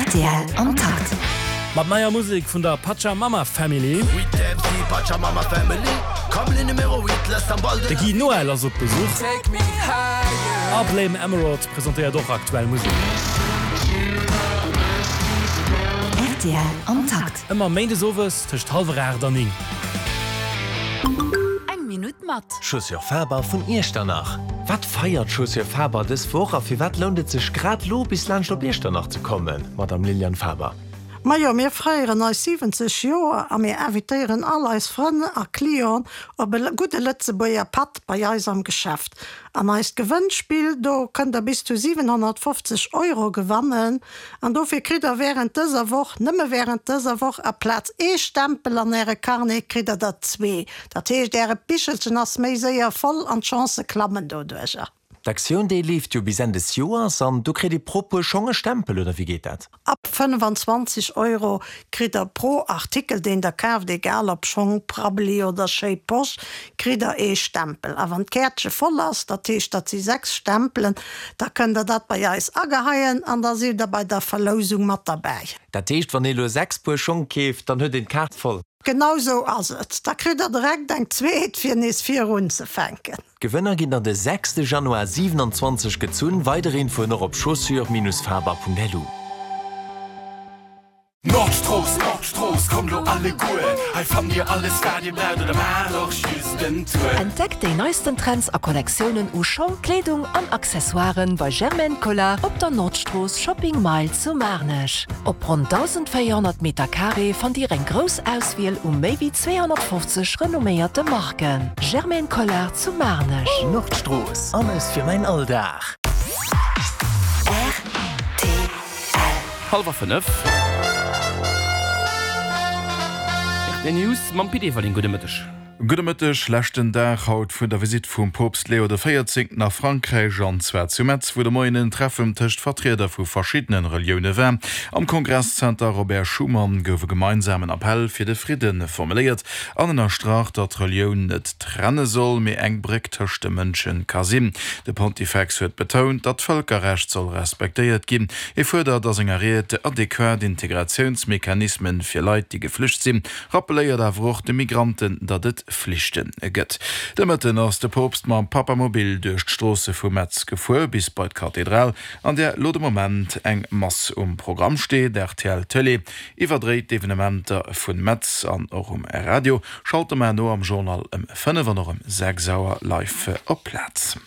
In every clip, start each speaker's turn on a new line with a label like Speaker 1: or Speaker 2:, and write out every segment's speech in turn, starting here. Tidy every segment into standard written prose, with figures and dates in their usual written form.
Speaker 1: Rtl am Takt.
Speaker 2: Mat neier Musek vun der Pachamama Family. De Guy Noel ass op Besuch. A Blame Emerald presentéiert och aktuell Musek.
Speaker 1: Rtl am Takt.
Speaker 2: Ëmmer méindes owes tëscht hallwer 8 an 9.
Speaker 1: Eng Minutt mat.
Speaker 3: Chaussures Faber vun Iechternach. Wat feiert Chaussures Faber dës Woch a firwat lount et sech grad lo bis laanscht op Iechternach ze kommen, Madame Liliane Faber?
Speaker 4: Majo, mir feieren eis 70 Joer a mir invitéieren all eis Frënn a Clienten op e gudde Lëtzebuerger Patt bei eis am Geschäft. An eist Gewënnspill, do kënnt der bis zu 750 Euro gewannen. An dofir kritt der während dëser Woch, nëmme während dëser Woch, aplaz ee Stempel an äre Carnet, kritt der der zwee. Dat heescht, äre Bichelchen ass méi séier voll an d'Chancë klammen doduercher.
Speaker 3: D'Aktioun déi leeft jo bis Enn des Joers an do kritt ee pro Puer Schong e Stempel, oder wéi geet dat?
Speaker 4: Ab 25 Euro kritt der pro Artikel deen der kaaft, egal ob Schong, Prabbeli oder schéi Posch, kritt der ee Stempel. A wann d'Käertche voll ass, dat heescht dat si 6 Stempelen, da kënnt der dat bei eis ageheien an da sidd der bei der Verlousung mat derbäi.
Speaker 3: Dat heescht wann ee lo 6 Puer Schong keeft, dann huet een d'Kaart voll?
Speaker 4: Genau sou ass et. Da kritt der direkt eng zweet fir nees virunzefänken.
Speaker 3: D'Gewënner ginn dann de sechste Januar 27 gezunn. Weider Infoen och op chaussures-faber.lu.
Speaker 5: Nordstrooss, Nordstrooss, kommt lo alleguer, hei fannt dir alles wat dir braucht oder maacht och just en Tour.
Speaker 6: Entdeckt déi neisten Trends a Kollektiounen u Schong, Kleedung an Accessoiren bei Germaine Collard op der Nordstrooss Shopping Mile zu Maarnech. Op ronn 1.400 Meter Carré fannt Dir eng grouss Auswiel u méi wéi 250 renomméierte Marken. Germaine Collard zu Maarnech.
Speaker 3: Nordstrooss, alles fir mäin Alldag.
Speaker 1: Rtl.
Speaker 7: Hallwer 5. Rtl News mam Pit Everling. Gudde Mëtteg.
Speaker 8: Gudde Mëtteg. Leschten Dag haut vun der Visitt vum Poopst Leo de Véierzéngten a Frankräich, an zwar zu Metz, wou de Moien en Treffen tëscht Vertrieder vu verschiddene Relioune war. Am Kongresszenter Robert Schuman gouf e gemeinsamen Appell fir de Fridde formuléiert an ënnerstrach, datt Relioun net trenne soll, mee eng Bréck tëscht de Mënsche ka sinn. De Pontifex huet betount, datt d'Vëlkerrecht soll respektéiert ginn. Hie fuerdert a senger Ried adequat Integratiounsmechanismen fir Leit, déi geflücht sinn, Rappeléiert awer och de Migranten, datt et Flichte gëtt. De Mëtten ass de Poopst mam Papamobil duerch d'Stroosse vu Metz gefuer, bis bei d'Kathedral, an där lo de Moment eng Mass um Programm steet. Rtl Tëlee iwwerdréit d'Evenementer vu Metz an och um Radio. Schalt de Mar no am Journal ëm 5 an och ëm 6 Auer live op d'Plaz.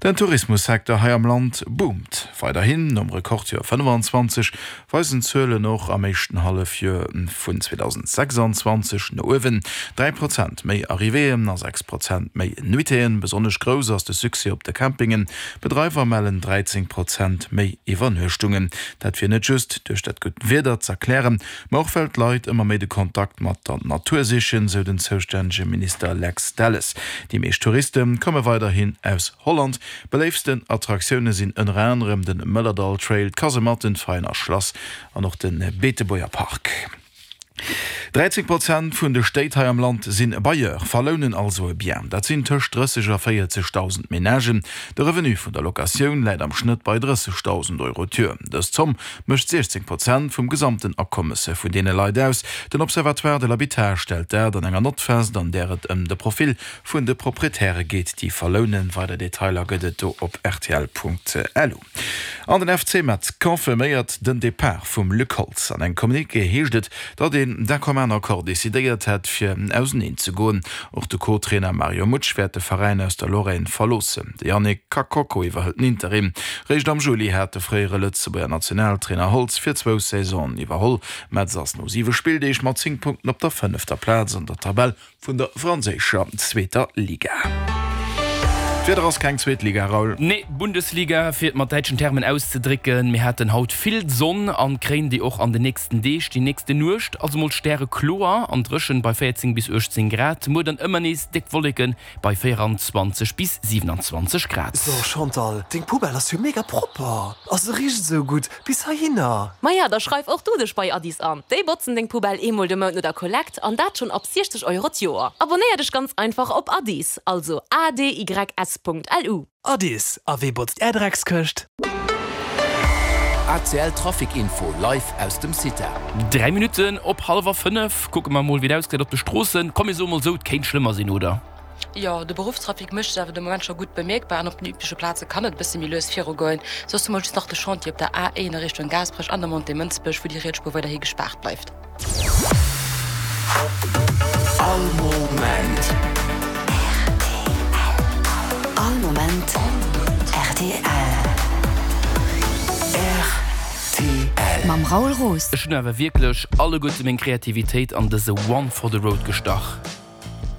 Speaker 8: Den Tourismussecteur hei am Land boomt weiderhin. Nom Rekordjoer 25 weisen d'Zuelen och am éischten Hallefjoer vun 2026 no uewen, 3 Prozent méi Arrivéeën a 6 Prozent méi Nuitéeën. Besonnesch grouss ass de Succès op de Campingen. D'Bedreiwer mellen 13 Prozent méi Iwwernuechtungen. Dat wier net just duerch dat gutt Wieder z'erklären, Ma och well d'Leit ëmmer méi de Kontakt mat der Natur sichen, sou den zoustännege Minister Lex Delles. Déi meescht Touriste komme weiderhin aus Holland. Beléiftsten Attraktioune sinn ënner anerem de Mëllerdall Trail, d'Kasematten, d'Veiener Schlass an och de Beetebuerger Park. 13 Prozent vun de Stéit hei am Land sinn Bailleur, verlounen also e Bien. Dat sinn tëscht 30 a 40.000 Menagen. De Revenu vun der Locatioun läit am Schnëtt bei 30.000 Euro d'Joer. Dës Zomm mécht 16 Prozent vum gesamten Akommes vun deene Leit aus. Den Observatoire de l'habitat stellt dat an enger Nott fest, an där et ëm de Profil vun de Proprietäre geet, déi verlounen. Weider Detailer gëtt et do op rtl.lu. An den FC Metz confirméiert den Depart vum Luc Holtz. An engem Communiqué heescht et, datt een d'un commun accord decidéiert hätt, fir auseneen ze goen. Och de Co-Trainer Mario Mutsch wäert de Veräin aus der Lorraine verloossen. De Yannick Kakoko iwwerhëlt den Interim. Réischt am Juli hat de fréiere Lëtzebuerger Nationaltrainer Holtz fir zwou Saisonen iwwerholl. Metz ass no siwe Spilldeeg mat 10 Punkten op der fënnefter Plaz an der Tabell vun der franséischer zweeter Liga. D'Wieder ass keng zweet Liga, Raoul.
Speaker 7: Nee, Bundesliga, fir et mat däitschen Termen auszedrécken. Mir haten haut vill Sonn an kréien déi och an den nächsten Deeg. Déi nächste Nuecht ass emol stärekloer an dréchen bei 14 bis 18 Grad. Muer dann ëmmer nees déck Wolleken bei 24 bis 27 Grad.
Speaker 9: So Chantal, deng Poubelle ass jo mega propper a se richt esou gutt bis heihinner.
Speaker 10: Maja, da schreif och du dech bei Addis an. Déi botzen deng Poubelle eemol de Mount no der Kollekt an dat schonn ab 60 Euro d'Joer. Abonnéier dech ganz einfach op Addis, also adys.lu.
Speaker 9: Addis, a wee botzt är Dreckskëscht?
Speaker 11: ACL Trafic Info live aus dem CITA.
Speaker 7: 3 Minutten op hallwer 5, kucke mer mol wéi et ausgesäit op de Stroossen. Komm mir soe mol sou, et kéint schlëmmer sinn, oder?
Speaker 12: Jo, de Beruffstrafic mécht sech awer de Moment scho gutt bemierkbar an op den übleche Plaze kann et e bësse méi lues virugoen. Soss hu mer just nach de Chantier op der A1 a Richtung Gaasperech an der Montée Mënsbech, wou déi riets Spuer weiderhi gespaart bleift.
Speaker 5: All Moment.
Speaker 1: All Moment rtl.
Speaker 5: Rtl.
Speaker 1: Mam Raoul Roos.
Speaker 7: Ech hunn awer wierklech alleguerte meng Kreativitéit an dëse One for the Road gestach.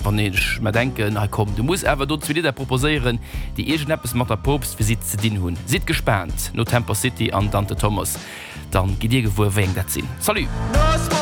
Speaker 7: Wann ech mer denken, hei komm, du muss awer do zwee Lidder proposéieren, déi iergendeppes mat der Poopstvisitt ze dinn hunn. Sidd gespaant, no Temper City an Dante Thomas, dann gitt dir gewuer, wéi eng dat sinn. Salut!